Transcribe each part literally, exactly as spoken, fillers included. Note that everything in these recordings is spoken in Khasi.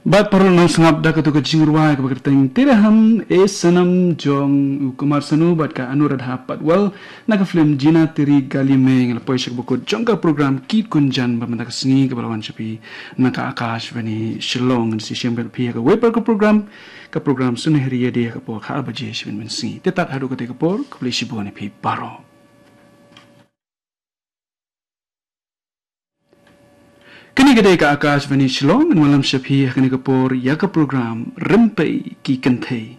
Bad paralok nongsngap, da katu ka jingrwai kaba kyrteng Tere Ham E Sanam jong u Kumar Sanu bad ka Anuradha Patwal na ka film Jina Teri Gali Mein, la poi sha kaba kut jong ka program Git Gunjan ba mynta ka sngi kaba la wan sha phi na ka Akashvani Shillong. Ngan sa ïashem bad phi ha kawei pat ka program, ka program Sunehri Ïadei ha ka por khatwei baje sha mynsngi. Te tad haduh katei ka por, khublei shibun ïa phi baroh. Kane ka dei ka Akashvani Shillong, ngan wallam sha phi ha kane ka por ïa ka program Rympei ki Kynthei.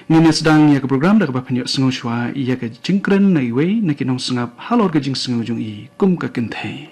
Ngin ïa sdang ïa ka program da kaba phin ïohsngew shuwa ïa ka jingkren na iwei na ki nongsngap halor ka jingsngew jong i kum ka kynthei.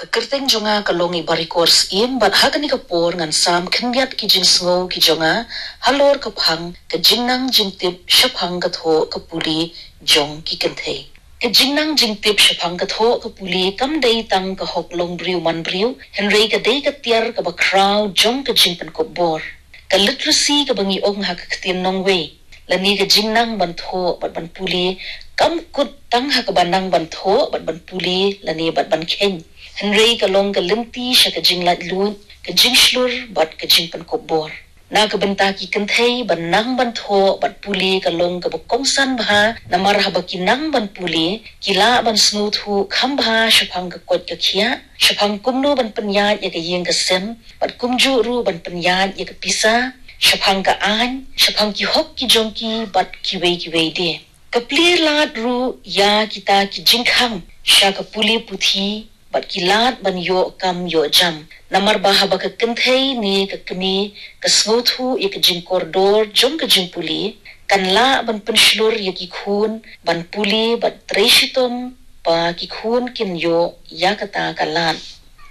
Ka kyrteng jong nga ka long i Barikor Syiem, bad ha kane ka por ngan sam khyndiat ki jingsngew ki jong nga halor ka phang ka jingnang jingtip shaphang ka thoh ka pule jong ki kynthei. Ka jingnang jingtip shaphang ka thoh ka pule kam dei tang ka hok long briew man briew, hynrei ka dei ka tiar kaba khraw jong ka jingpynkup bor. Ka literacy kaba ngi ong ha ka ktien nongwei, lane ka jingnang ban thoh bad ban pule, kam kut tang ha kaba nang ban thoh bad ban pule lane bad ban kheiñ. Hynrei ka long ka lynti sha ka jinglaitluid, ka jingshlur bad ka jingpynkup bor. Na ka bynta ki kynthei, ban nang ban thoh bad pule ka long kaba kongsan bha, namar haba ki nang ban pule, ki lah ban sngewthuh kham bha shaphang ka koit ka khiah, shaphang kumno ban pynïaid ïa ka ïing ka sem, bad kumjuh ruh ban pynïaid ïa ka pisa, shaphang ka aiñ, shaphang ki hok ki jong ki bad kiwei kiwei de. Ka plie lad ruh ïa kita ki jingkhang sha ka pule puthi, bad ki lad ban ïoh kam ïoh jam. Namar ba haba ka kynthei ne ka kmie ka sngewthuh ïa ka jingkordor jong ka jingpule, kan lah ban pynshlur ïa ki khun ban pule bad trei shitom ba ki khun kin ïoh ïa kata ka lad.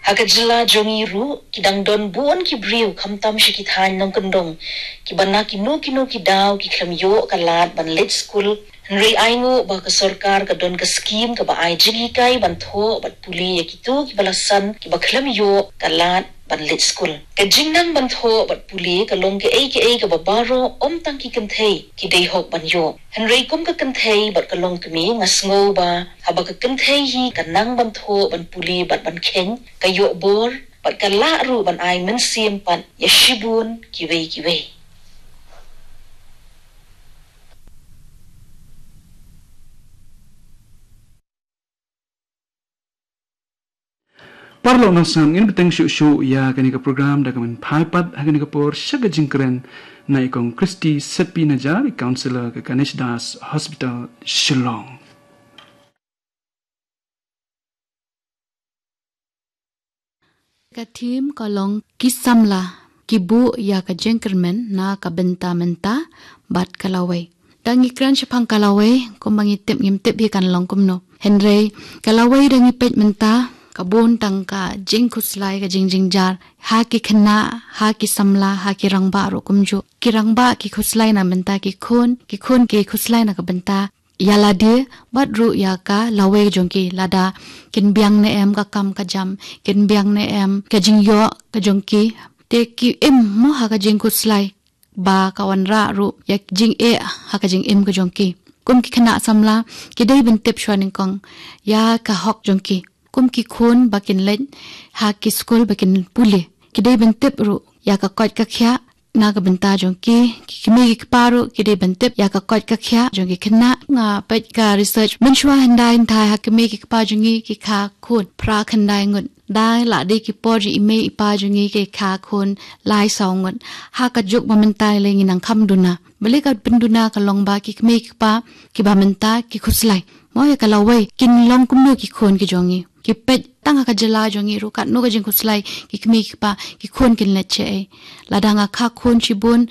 Ha ka jylla jong ngi ruh, ki dang don bun ki briew khamtam sha ki thaiñ nongkyndong, kiba na kino kino ki daw ki khlem ïoh ka lad ban leit skul. Hynrei ai nguh ba ka sorkar ka don ka skim kaba ai jinghikai ban thoh bad pule ïa kito kiba la san kiba khlem ïoh ka lad ban leit skul. Ka jingnang ban thoh bad pule ka long kaei kaei kaba baroh, ym tang ki kynthei ki dei hok ban ïoh. Hynrei kum ka kynthei bad ka longkmie, nga sngew ba haba ka kynthei hi ka nang ban thoh ban pule bad ban kheiñ, ka ïoh bor bad ka lah ruh ban ai mynsiem pat ïa shibun kiwei kiwei. Paralok nongsngap, ngin bteng shuh shuh ïa kane ka program da ka mynphai pat ha kane ka por sha ka jingkren na i Kong Christy Setpi Najar, i councillor ka Ganesh Das Hospital Shillong. Ka theme ka long ki samla ki buh ïa ka jingkyrmen na ka bynta mynta bad ka lawei. Da ngi kren shaphang ka lawei, kumba ngi tip ngim tip hi kan long kumno. Hynrei ka lawei da ngi peit mynta ka bun tang ka jingkhuslai, ka jingjynjar ha ki khynnah, ha ki samla, ha ki rangbah ruh kumjuh. Ki rangbah ki khuslai na bynta ki khun, ki khun ki khuslai na ka bynta ïa lade, bad ruh ïa ka lawei jong ki, lada kin biang ne em ka kam ka jam, kin biang ne em ka jingïoh ka jong ki. Te ki im mo ha ka jingkhuslai ba ka wanrah ruh ïa ka jingeh ha ka jingim ka jong ki. Kum ki khynnah samla, ki dei ban tip shuwa nyngkong ïa ka hok jong ki. Kum ki khun ba kin leit ha ki skul ba kin pule, ki dei ban tip ruh ïa ka koit ka khiah na ka bynta jong ki. Ki kmie ki kpa ruh ki dei ban tip ïa ka koit ka khiah jong ki khynnah. Nga peit ka research, mynshuwa hyndai hynthai ha kmie ki kpa jong ngi ki kha khun phra khyndai ngut. Da la dei ki por jong i mei i pa jong ngi ki kha khun lai saw ngut. Ha ka juk ba mynta lei ngi nang kham duna. Balei ka pynduna? Ka long ba ki kmie ki kpa kiba mynta ki khuslai mo ïa ka lawei, kin long kumno ki khun ki jong ngi. Ki peit tang ha ka jylla jong ngi ruh, katno ka jingkhuslai, ki kmie ki kpa, ki khun kin leit shaei. Lada nga kha khun shibun,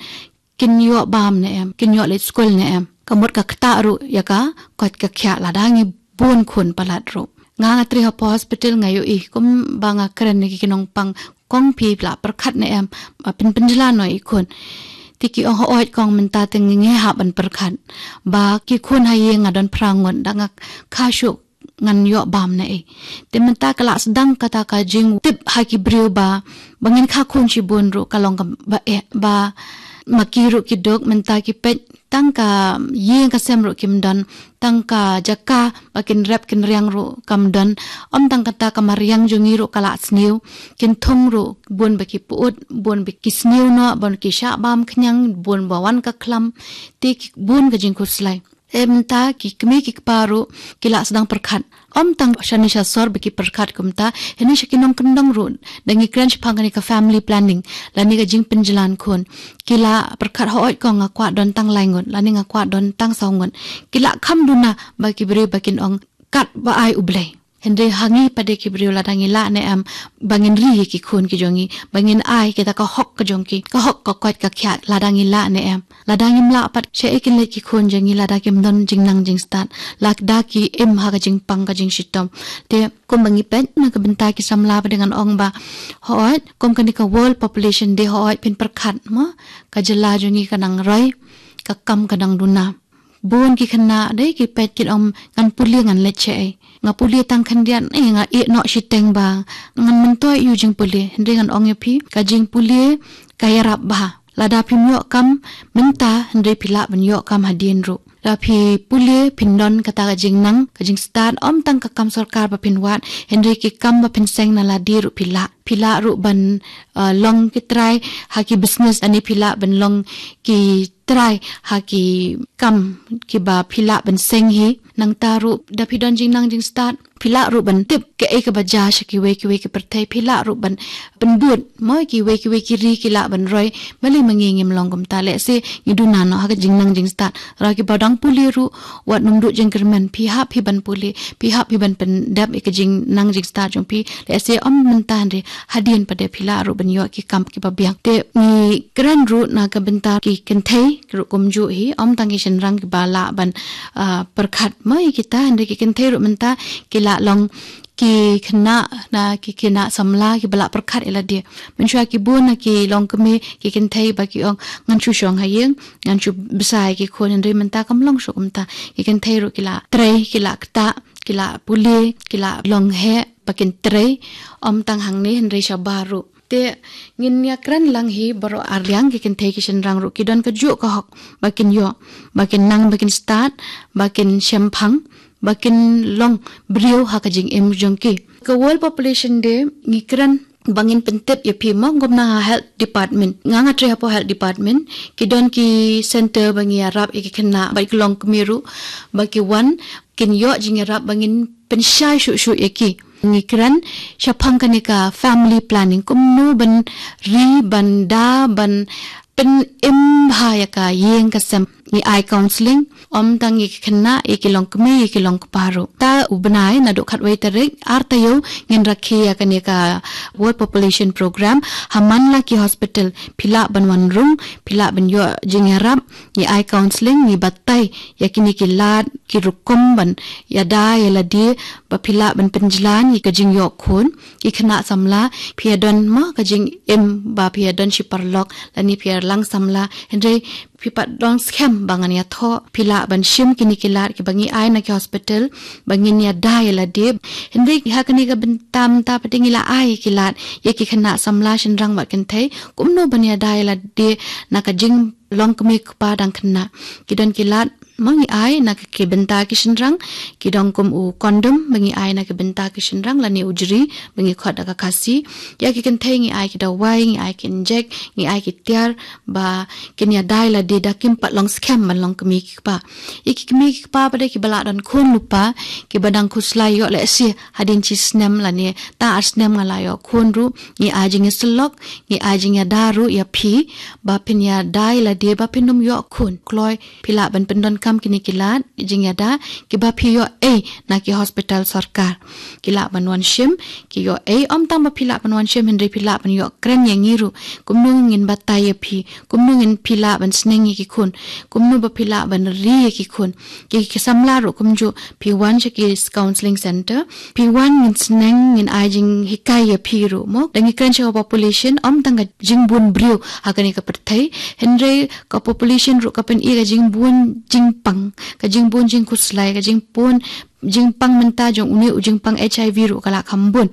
kin ïoh bam ne em, kin ïoh leit skul ne em. Ka mut ka ktah ruh ïa ka koit ka khiah lada ngi bun khun palat ruh. Nga, nga trei hapoh hospital, nga ïohi kumba nga kren ïa ki nongpang, kong phi la pyrkhat ne em ba phin pynjlan noh ïa i khun. Te ki ong, hooid kong, mynta te ngi hap ban pyrkhat ba ki khun ha ïing nga don phra ngut, da nga kha shuh ngan ïoh bam ne ei. Te mynta ka la sdang kata ka jingtip ha ki briew ba, ba ngin kha khun shibun ruh ka long kaba eh, ba ma ki ruh ki duk mynta ki peit tang ka ïing ka sem ruh kim don, tang ka jaka ba kin rep kin riang ruh kam don, ym tang kata ka mariang jong ngi ruh ka la sniew, kin thung ruh bun ba ki put, bun ba ki sniew noh, bun ki shah bam khñiang, bun ba wan ka khlam, te ki bun ka jingkhuslai. Te mynta ki kmie ki kpa ruh ki la sdang pyrkhat. Ym tang shane sha sor ba ki pyrkhat kumta, hynrei sha ki nongkyndong ruh, da ngi kren shaphang kane ka family planning, lane ka jingpynjlan khun. Ki la pyrkhat, hooid ko nga kwah don tang lai ngut, lane nga kwah don tang saw ngut. Ki la kham duna ba ki briew ba kin ong katba ai U Blei. Hynrei ha ngi pat de ki briew, lada ngi lah ne em ba ngin ri ïa ki khun ki jong ngi, ba ngin ai kita ka hok ka jong ki, ka hok ka koit ka khiah, lada ngi lah ne em. Lada ngim lah pat, shaei kin leit ki khun jong ngi lada kim don jingnang jingstad, lada ki im ha ka jingpang ka jingshitom. Te kumba ngi peit na ka bynta ki samla pat de ngan ong ba, hooid, kum kane ka World Population Day, hooid phin pyrkhat mo, ka jylla jong ngi ka nang roi, ka kam ka nang duna. Bun ki khynnah de ki peit kin ong ngan pule ngan leit shaei. Nga pule tang khyndiat, eh, nga ïeh noh shiteng ba ngan myntoi ïa u jingpule. Hynrei ngan ong ïa phi, ka jingpule ka ïarap bha. Lada phim ïoh kam mynta, hynrei phi lah ban ïoh kam hadien ruh. Lada phi pule phin don kata ka jingnang, ka jingstad, ym tang ka kam sorkar ba phin wad, hynrei ki kam ba phin seng na lade ruh phi lah. Phi lah ruh ban, uh, long ki trai ha ki business, lane phi lah ban long ki trai ha ki kam kiba phi lah ban seng hi. Nangta ruh da phi don jingnang jingstad, phi lah ruh ban tip kaei kaba jia sha kiwei kiwei ki pyrthei, phi lah ruh ban pynbud mo kiwei kiwei ki ri ki lah ban roi. Balei ma ngi ngim long kumta? Lehse ngi duna noh ha ka jingnang jingstad. Lada kiba dang pule ruh wat nym duh jingkyrmen, phi hap phi ban pule, phi hap phi ban pyndep ïa ka jingnang jingstad jong phi. Lehse ym mynta, hynrei hadien pat de phi lah ruh ban ïoh ki kam kiba biang. Te ngi kren ruh na ka bynta ki kynthei ruh kumjuh hi, ym tang ki shynrang kiba lah ban, ah, pyrkhat mo ïa kita, hynrei ki kynthei ruh mynta ki lah long ki khynnah, na ki khynnah samla kiba lah pyrkhat ïa lade. Mynshuwa ki bun na ki longkmie ki kynthei ba ki ong ngan shu shong ha ïing, ngan shu bsa ïa ki khun, hynrei mynta kam long shuh kumta. Ki kynthei ruh ki lah trei, ki lah ktah, ki lah pule, ki lah long heh ba kin trei, ym tang hangne hynrei shabar ruh. Te ngin ïa kren lang hi baroh arliang, ki kynthei ki shynrang ruh ki don kajuh ka hok ba kin ïoh, ba kin nang, ba kin stad, ba kin shemphang, ba kin long briew ha ka jingim jong ki. Ka World Population Day ngi kren ba ngin pyntip ïa phi mo, kumba na ha Health Department. Nga nga trei hapoh Health Department, ki don ki center ba ngi ïarap ïa ki khynnah bad ki longkmie ruh ba ki wan kin ïoh jingïarap, ba ngin pynshai shuh shuh ïa ki. Ngi kren shaphang kane ka family planning, kumno ban ri, ban da, ban pynim bha ïa ka ïing ka sem. Ngi ai counselling, ym tang ïa ki khynnah, ïa ki longkmie, ïa ki longkpa ruh. Ta u bnai naduh khatwei tarik, ar taïew, ngin rakhe ïa kane ka World Population Program ha man la ki hospital. Phi lah ban wan rung, phi lah ban ïoh jingïarap, ngi ai counselling, ngi batai ïa kine ki lad, ki rukom ban ïada ïa lade ba phi lah ban pynjlan ïa ka jingïoh khun. Ki khynnah samla, phi ïa don mo ka jingim ba phi ïa don shi paralok, lane phi ïa lang samla, hynrei phi pat don skhem ba ngan ïathoh, phi lah ban shim kine ki lad kiba ngi ai na ki hospital ba ngin ïada ïa lade. Hynrei ha kane ka bynta mynta pat de ngi la ai ki lad ïa ki khynnah samla shynrang bad kynthei kumno ban ïada ïa lade na ka jinglong kmie kpa dang khynnah. Ki don ki lad mo ngi ai na ki bynta ki shynrang, ki don kum u condom ba ngi ai na ki bynta ki shynrang, lane u jri ba ngi khot da ka Khasi. Ïa ki kynthei ngi ai ki dawai, ngi ai ki injek, ngi ai ki tiar ba kin ïada ïa lade da kim pat long skhem ban long kmie ki kpa. Ïa ki kmie ki kpa pat de kiba la don khun lypa, kiba dang khuslai ïoh lehse hadien shi snem lane ta ar snem nga la ïoh khun ruh, ngi ai jingïasyllok, ngi ai jingïada ruh ïa phi ba phin ïada ïa lade ba phin ym ïoh khun. Kloi phi lah ban pyndonkam kine ki lad jingïada kiba phi ïoh ei na ki hospital sorkar. Ki lah ban wan shim, ki ïoh ei, ym tang ba phi lah ban wan shim, hynrei phi lah ban ïoh kren ïa ngi ruh kumno ngin batai ïa phi, kumno ngin, phi lah ban sneng ïa ki khun, kumno ba phi lah ban ri ïa ki khun. Ki, ki samla ruh kumjuh, phi wan sha ki counselling center, phi wan ngin sneng, ngin ai jinghikai ïa phi ruh mo. Da ngi kren sha ka population, ym tang ka jingbun briew ha kane ka pyrthei, hynrei ka population ruh ka pyni ka jingbun jingpang, ka jingbun jingkhuslai, ka jingbun jingpang mynta jong une u jingpang HIV ruh ka la kham bun.